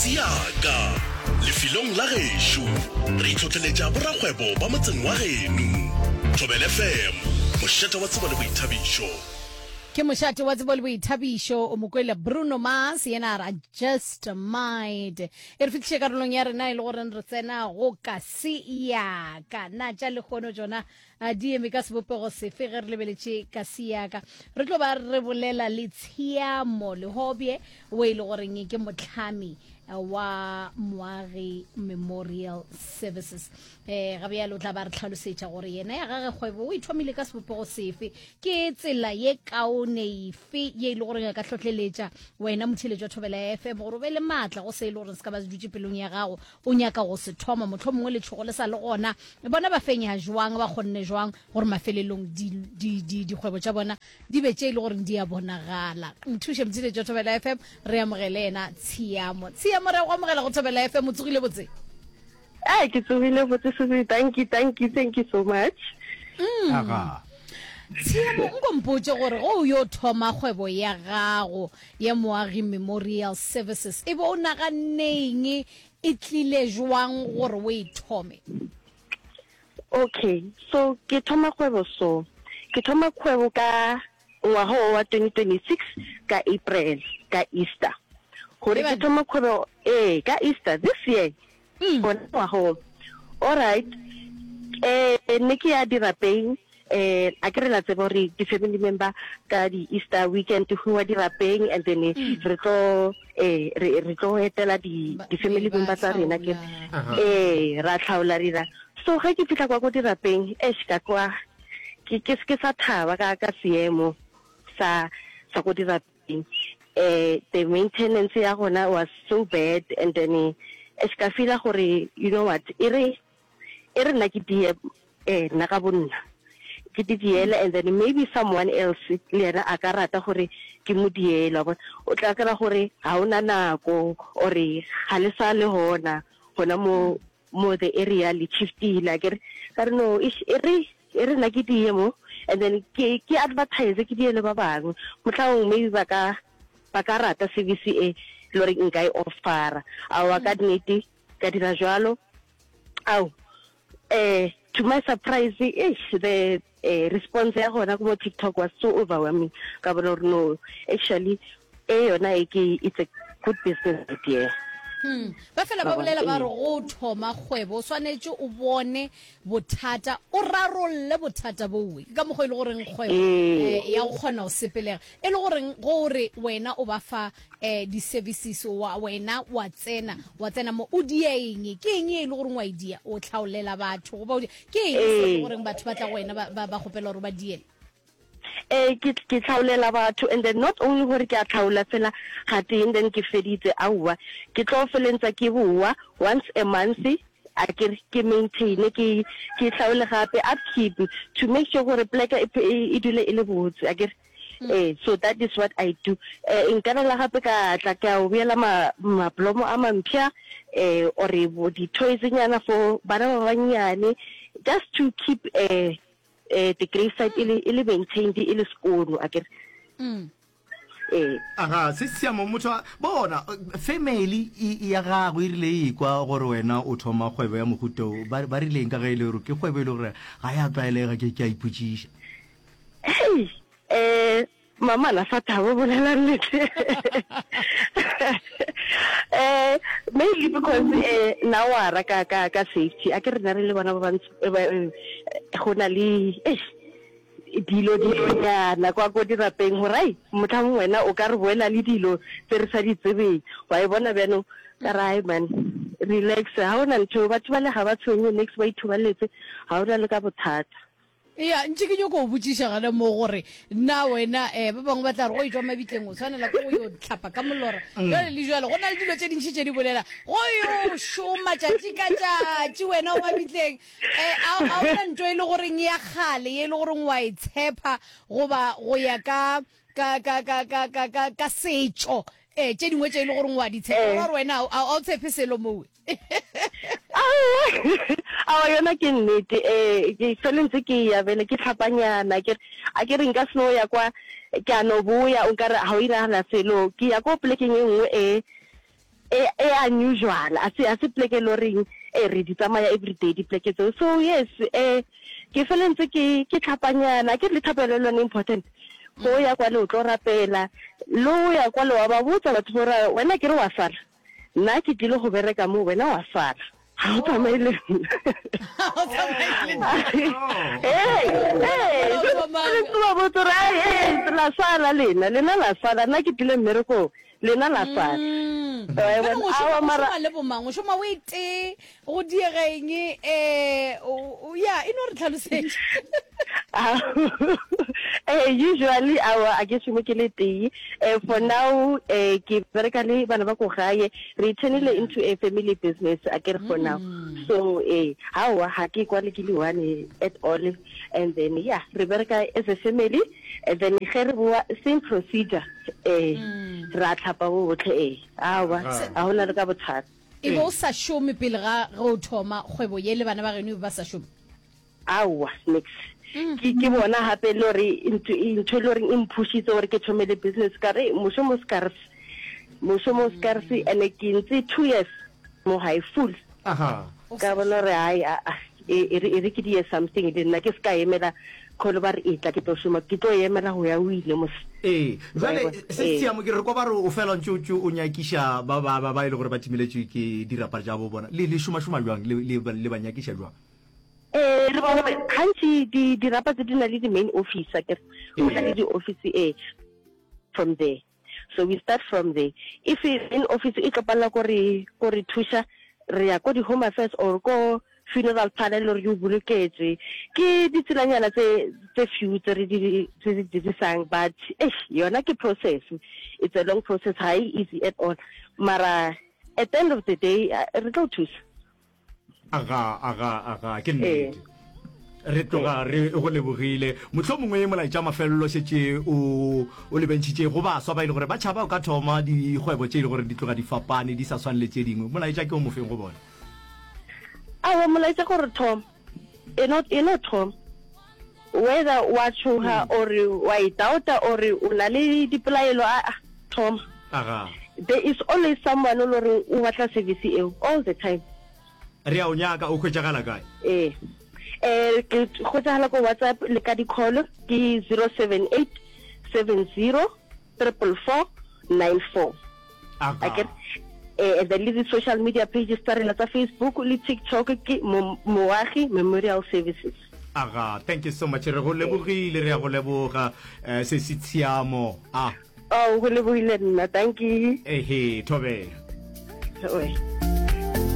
se ya ka. Lefelong la gešo, re itlhotleletša borakgwebo ba motseng wa geno. Thobela FM, mošate wa tsebo le boithabišo. Ke mošate wa tsebo le boithabišo o mo kwele Bruno Mars yena a ra Just Might. E re fihliše karolong ya rena e le goreng re tsena go ka se ya ka. Na tša lehono tšona A di eme ka sebopego sefe ge re lebeletše ka seaka? Re tlo ba re bolela le Tshiamo Lehobye o e le goreng ke mohlami wa Moagi Memorial Services. Eh, ga bjale o tla ba re tlhalosetša gore yena ya gage kgwebo o e thomile ka sebopego sefe, ke tsela ye kaone efe ye e le goreng a ka hlohleletša wena motheeletši wa Thobela FM gore o be le maatla go se e le goreng se ka ba se dutše pelong ya gago o nyaka go se thoma, mohlomongwe letšhogo le sa le gona. Bona ba fenya jwang, ba kgonne jwang gore mafelelong di, di, di, dikgwebo tša bona di be tše e le goreng di a bonagala. Nthuše Mothiletši wa Thobela FM, re amogele yena Tshiamo. Tshiamo, re a go amogela go Thobela FM, o tsogile botse? Ee, ke tsogile botse Susie, thank you, thank you, thank you so much. Mm. Aga. Tshiamo, nko mpotše gore ge o yo thoma kgwebo ya gago ya Moagi Memorial Services e be o naganneng e tlile jwang gore o e thome? Okay, so ke thoma kgwebo so. Ke thoma kgwebo ka ngwaga o wa 2026 ka April, ka Easter. Gore ke thoma kgwebo ee ka Easter this year. Gona ngwaga o. Alright, eh ne ke ya dirapeng eh a ke re la tseba gore di-family member ka di-Easter weekend go wa dirapeng and then re tlo eh re re tlo etela di di-family member tsa rena ke eh ra tlhaola re dira. So ge ke fihla kwa ko dirapeng eish ka kwa ke ke ke sa thaba ka ka seemo sa sa ko dirapeng. Eh the maintenance ya gona was so bad and then eh ka feela gore you know what e re e re nna ke die eh nna ka bonna ke di diele and then maybe someone else le yena a ka rata gore ke mo diele wa bona o tla kry-a gore ga o na nako or ga le sa le gona gona mo mo the area le shiftile akere ka re no e re e re nna ke die mo and then ke ke advertise ke diele ba bangwe motlhaong maybe ba ka ba ka rata service e le gore nka e offera aowa ka nnete ka dira jwalo ao eh to my surprise eish the eh, response ya gona ko mo TikTok was so overwhelming ka bona gore no actually e yona e ke it's a good business idea. Hmm. Ba fela ba bolela ba re go thoma kgwebo o swanetše o bone bothata o rarolle bothata bowe ke ka mokgwa e le goreng kgwebo eh, ya go kgona go sepelega e le goreng gore wena o ba fa eh, di-services wa wena wa tsena wa tsena mo o dia eng ke eng e le goreng wa e dia o tlhaolela batho goba o dia ke eng se e le goreng batho ba tla go wena ba, ba, ba kgopela gore ba diele Ee, ke, ke tlhaolela batho and then not only gore ke a tlhaola fela ga tee and then ke feditse, aowa, ke tlo felentsa ke bowa once a month a ke re ke maintain ke, ke tlhaole gape upkeep to make sure gore pleke e, e, e dule e le botse a ke re. Ee, so that is what I do. Eh, nka na la gape ka tla ka o beela ma, mablomo a mampsha eh, or di-toys nyana for bana ba bannyane just to keep eh, eh, the gravesite e le, e le maintained e le sekono akere. Mm. Ee. Aga, se siamo motho a bona family e ya gago e rile e kwa gore wena o thoma kgwebo ya mohuta o ba ba rileng ka ge e le gore ke kgwebo e le gore ga ya tlwaelega ke ke a ipotšiša. Hei, eh mama na sa thabo bolela nnete. Eh mainly because eh na wara ka ka ka safety a ke rena re le bona ba bantsho eh, go na le eish dilo dilonyana kwa ko dirapeng gore ai motlhang wena o ka re boela le dilo tse re sa di tsebeng wa e bona bjanong ka re ai man relax ga o na ntho batho ba le ga ba tshwenye next ba ithobaletse ga o na le ka bothata Ya, ntše ke nyoko go botšiša gana mo gore na wena um ba bangwe ba tla re go etšwa mabitleng o tshwanela ke go yo tlhapa ka molora jale le jale go na le dilo tše dintši tše di bolela go yo šoma tšatši ka tšatši wena o mabitleng um a o na nto e le goreng ya kgale ye e le goreng wa e tshepa goba go ya ka ka ka ka ka ka ka ka setšo um tše dingwe tše e le goreng wa di tshepa gore wena a o tshepe selo mowe Aowa, aowa yona ke nnete. Eh, ke fele ntse ke ya bele ke tlhapanyana ke re a ke re nka se no ya kwa ke a no boya o nkare ga o iragala selo. Ke ya ko polekeng e nngwe e. E e unusual, a se a se pleke e le goreng e re di tsamaya everyday dipleke tseo. So yes, eh ke fele ntse ke ke tlhapanyana, akere le thapelo le yone e important. Go ya kwale o tlo rapela, le o ya kwale wa ba botsa batho ba gore wena akere wa sala, nna ke tlile go bereka mo, wena wa sala. Ga o tsamaye le nna. Ga o tsamaye le nna. Ee, ee, ba botsa gore ai, ee, la sala lena, lena la sala, nna ke tlile mmerekong. Lena la sala. Mm. Bjale o šoma, o šoma le bomang? O šoma o e tee, go diega eng? Eh, ya, e no re tlhalosetša. Eh, usually awa a ke šome ke le tee. Eh, for now eh ke bereka le bana ba ko gae. Re turnile into a family business a ke re for now. Mm. So eh awa ha ke kwale ke le one at all. And then yeah, re bereka as a family. And then ge re boa same procedure ee mm. ra tlhapa botlhe ee aowa ga go na le ka bothata. E be o sa šome pele ga ge o thoma kgwebo ye le bana ba geno e be ba sa šome? Aowa nix. Mm. Ke ke bona gape le gore ntho e le goreng e mphušitse gore ke thome le business ka re mošomo scarce mošomo scarce mm. and ke ntse 2 years mo gae full. Aha. Ka bona gore hai a e re e re ke die something le nna ke se ka emela kholo ba re etla ke tlo šoma ke tlo emela go ya o ile mos. Ee, jwale se Tshiamo ke re kwa ba re o fela ntse o nyakiša ba ba ba e le gore ba timeletšwe ke dirapa tša bo bona. Le le šoma šoma jwang le le le ba nyakiša jwang? Ee, re bona gantši di dirapa tse di na le di main office akere go na le di office ee from there. So we start from there. If main office e tlo palela ko re ko re thuša, re ya ko di home affairs or ko funeral parlor le gore di o boloketswe. Ke ditselanyana tse tse few tse re di tse di dirisang but eish yona ke process. It's a long process, ha e easy at all. Mara at the end of the day re tlo thusa. Aga, aga, aga, ke nnete. Re tloga re go lebogile. Mohlomongwe molaetša mafelelo šetše o o lebentšhitše go baswa ba e le gore ba tšhaba o ka thoma dikgwebo tše e le gore di tloga di fapane di sa swane le tše dingwe. Molaetša ke o mofeng go bona? Aowa, molaetša ke gore thoma. E no, e no thoma. Whether wa tšhoga or wa e doubta or o na le dipelaelo, aa, thoma. Aga. There is always someone o le goreng o batla service eo all the time. Re a o nyaka, o hwetšagala kae? Ee. Eh, ke hwetšagala ko WhatsApp le ka di-call ke 078 70 444 94. Aga. Eh, and then le di-social media pages tsa rena tsa Facebook le TikTok ke Moagi Memorial Services. Aga, thank you so much. Re go lebogile, re ya go leboga eh, se se tshiamo. Ah. Oh, go lebogile nna. Thank you. Ehe, thobela. Oe.